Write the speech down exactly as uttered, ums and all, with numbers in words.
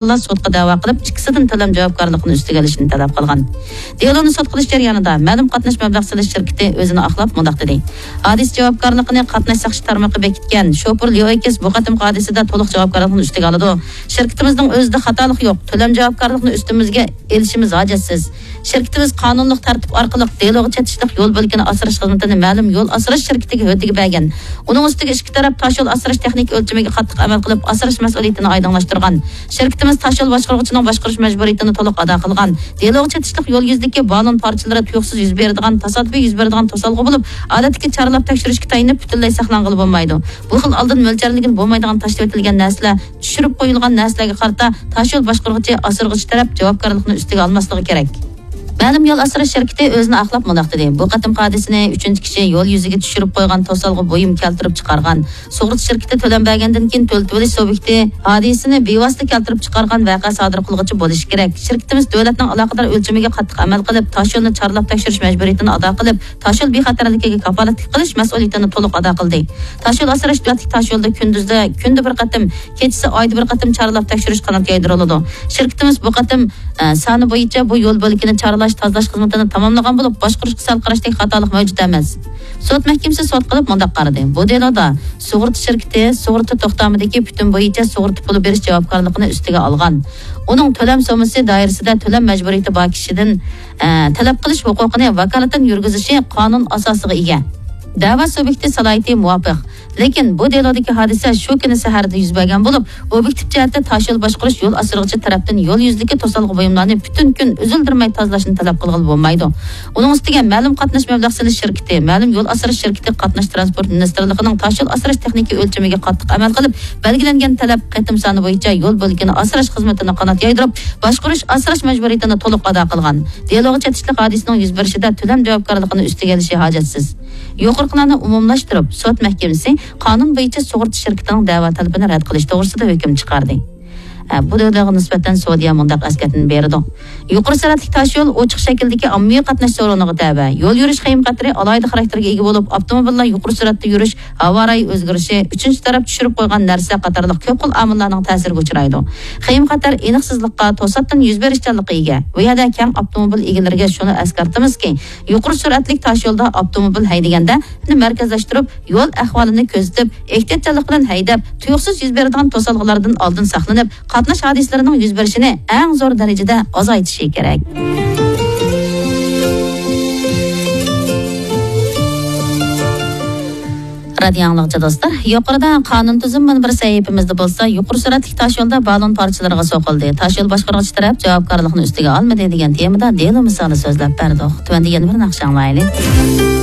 سوتقا دەۋا قىلىپ، ئىككىسىدىن تۆلەم جاۋابكارلىقىنى ئۈستىگە ئېلىشنى تەلەپ قىلغان. دېلونى سوت قىلىش جەريانىدا مەلۇم قاتناش مەبلەغ سېلىش شىركىتى ئۆزىنى ئاقلاپ مۇنداق دېدى: ھادىسە جاۋابكارلىقىنى قاتناش ساقچى تارمىقى بېكىتكەن. شوپۇر ليو ئېكس بۇ قېتىمقى ھادىسىدە تولۇق جاۋابكارلىقنى ئۈستىگە ئالىدۇ. شىركىتىمىزنىڭ ئۆزىدە خاتالىق يوق. تۆلەم جاۋابكارلىقىنى ئۈستىمىزگە ئېلىشىمىز ھاجەتسىز. شىركىتىمىز قانۇنلۇق تەرتىپ ئارقىلىق دېلوغا چېتىشلىق يول بۆلىكىنى ئاسراش خىزمىتىنى مەلۇم يول ئاسراش شىركىتىگە ھۆددىگە بەرگەن. ئۇنىڭ ئۈستىگە ئىككى تەرەپ تاشيول ئاسراش تېخنىكا ئۆلچىمىگە قاتتىق ئەمەل قىلىپ، ئاسراش مەسئۇلىيىتىنى ئايدىڭلاشتۇرغان. شىركىتىمىز تاشيول باشقۇرغۇچىنىڭ باشقۇرۇش مەجبۇرىيىتىنى تولۇق ئادا قىلغان. دېلوغا چېتىشلىق يول يۈزىدىكى بالون پارچىلىرى تۇيۇقسىز يۈز بېرىدىغان، تاسادىپىي يۈز بېرىدىغان توسالغۇ بولۇپ، ئادەتتىكى چارلاپ تەكشۈرۈشكە تايىنىپ پۈتۈنلەي ساقلانغىلى بولمايدۇ. بۇ خىل ئالدىن مۆلچەرلىگىلى بولمايدىغان تاشلىۋېتىلگەن نەرسىلەر، چۈشۈرۈپ قويۇلغان نەرسىلەرگە قارىتا تاشيول باشقۇرغۇچى، ئاسرىغۇچى تەرەپ جاۋابكارلىقنى ئۈستىگە ئالماسلىقى كېرەك. مەلۇم يول ئاسراش شىركىتى ئۆزىنى ئاقلاپ مۇنداق دېدى: بۇ قېتىمقى ھادىسىنى ئۈچىنچى كىشى يول يۈزىگە چۈشۈرۈپ قويغان توسالغۇ بۇيۇم كەلتۈرۈپ چىقارغان. سۇغۇرتا شىركىتى تۆلەم بەرگەندىن كېيىن تۆلىتىۋېلىش سۇبيېكتى ھادىسىنى بىۋاسىتە كەلتۈرۈپ چىقارغان ۋەقە سادىر قىلغۇچى بولۇشى كېرەك. شىركىتىمىز دۆلەتنىڭ ئالاقىدار ئۆلچىمىگە قاتتىق ئەمەل قىلىپ، تاشيولنى چارلاپ تەكشۈرۈش مەجبۇرىيىتىنى ئادا قىلىپ، تاشيول بىخەتەرلىكىگە كاپالەتلىك قىلىش مەسئۇلىيىتىنى تولۇق ئادا قىلدى. تاشيول ئاسراش دۆلەتلىك تاشيولدا كۈندۈزدە كۈندە بىر قېتىم، كېچىسى ئايدا بىر قېتىم چارلاپ تەكشۈرۈش قانات يايدۇرۇلىدۇ. شىركىتىمىز بۇ قېتىم، ئە، سانى بويىچە بۇ يول بۆلىكىنى چارلاش، تازىلاش خىزمىتىنى تاماملىغان بولۇپ، باشقۇرۇشقا سەل قاراشتەك خاتالىق مەۋجۇت ئەمەس. سوت مەھكىمىسى سوت قىلىپ مۇنداق قارىدى: بۇ دېلودا سۇغۇرتا شىركىتى سۇغۇرتا توختامىدىكى پۈتۈن بويىچە سۇغۇرتا پۇلى بېرىش جاۋابكارلىقىنى ئۈستىگە ئالغان. ئۇنىڭ تۆلەم سوممىسى دائىرىسىدە تۆلەم مەجبۇرىيىتى بار كىشىدىن، ئە، تەلەپ قىلىش ھوقۇقىنى ۋاكالىتەن يۈرگۈزۈشى قانۇن ئاساسىغا ئىگە. دەۋا سۇبيېكتى سالاھىيىتى مۇۋاپىق. لېكىن بۇ دېلودىكى ھادىسە شۇ كۈنى سەھەردە يۈز بەرگەن بولۇپ، ئوبيېكتىپ جەھەتتە تاشيول باشقۇرۇش يول ئاسرىغۇچى تەرەپتىن يول يۈزىدىكى توسالغۇ بۇيۇملارنى پۈتۈن كۈن ئۈزۈلدۈرمەي تازىلاشنى تەلەپ قىلغىلى بولمايدۇ. ئۇنىڭ ئۈستىگە مەلۇم قاتناش مەبلەغ سېلىش شىركىتى، مەلۇم يول ئاسراش شىركىتى قاتناش تىرانسپورت مىنىستىرلىقىنىڭ تاشيول ئاسراش تېخنىكا ئۆلچىمىگە قاتتىق ئەمەل قىلىپ، بەلگىلەنگەن تەلەپ قېتىم سانى بويىچە يول بۆلىكىنى ئاسراش خىزمىتىنى قانات يايدۇرۇپ، باشقۇرۇش ئاسراش مەجبۇرىيىتىنى تولۇق ئادا قىلغان. دېلوغا چېتىشلىق ھادىسىنىڭ يۈز بېرىشىدە تۆلەم جاۋابكارلىقىنى ئۈستىگە ئېلىشى ھاجەتسىز. يۇقىرىقىلارنى ئومۇملاشتۇرۇپ، سوت مەھكىمىسى قانۇن بويىچە سۇغۇرتا شىركىتىنىڭ دەۋا تەلىپىنى رەت قىلىش توغرىسىدا ھۆكۈم چىقاردى. ئە، بۇ دېلوغا نىسبەتەن سودىيە مۇنداق ئەسكەرتمە بېرىدۇ: يۇقىرى سۈرئەتلىك تاشيول ئوچۇق شەكىلدىكى ئاممىۋى قاتناش سورۇنىغا تەۋە. يول يۈرۈش خېيىم خەتىرى ئالاھىدە خاراكتېرگە ئىگە بولۇپ، ئاپتوموبىللار يۇقىرى سۈرئەتتە يۈرۈش، ھاۋا رايى ئۆزگىرىشى، ئۈچىنچى تەرەپ چۈشۈرۈپ قويغان نەرسە قاتارلىق كۆپ خىل ئامىللارنىڭ تەسىرىگە ئۇچرايدۇ. خېيىم خەتەر ئېنىقسىزلىققا، توساتتىن يۈز بېرىشچانلىققا ئىگە. بۇ يەردە كەڭ ئاپتوموبىل ئىگىلىرىگە شۇنى ئەسكەرتىمىزكى، يۇقىرى سۈرئەتلىك تاشيولدا ئاپتوموبىل ھەيدىگەندە، مەركەزلەشتۈرۈپ، يول ئەھۋالىنى كۆزىتىپ، ئېھتىياتچانلىق بىلەن ھەيدەپ، تۇيۇقسىز يۈز بېرىدىغان توسالغۇلاردىن ئالدىن ساقلىنىپ، قاتناش ھادىسىلىرىنىڭ يۈز بېرىشىنى ئەڭ زور دەرىجىدە ئازايتىشى كېرەك. رادىيو ئاڭلىغۇچى دوستلار، يۇقىرىدا قانۇن تۈزۈم مۇنبىرى سەھىپىمىزدە بولسا، يۇقىرى سۈرئەتلىك تاشيولدا بالون پارچىلىرىغا سوقۇلدى، تاشيول باشقۇرغۇچى تەرەپ جاۋابكارلىقنى ئۈستىگە ئالمىدى دېگەن تېمىدا دېلو مىسالى سۆزلەپ بەردۇق. تۆۋەندە يەنە بىر ناخشا ئاڭلايلى.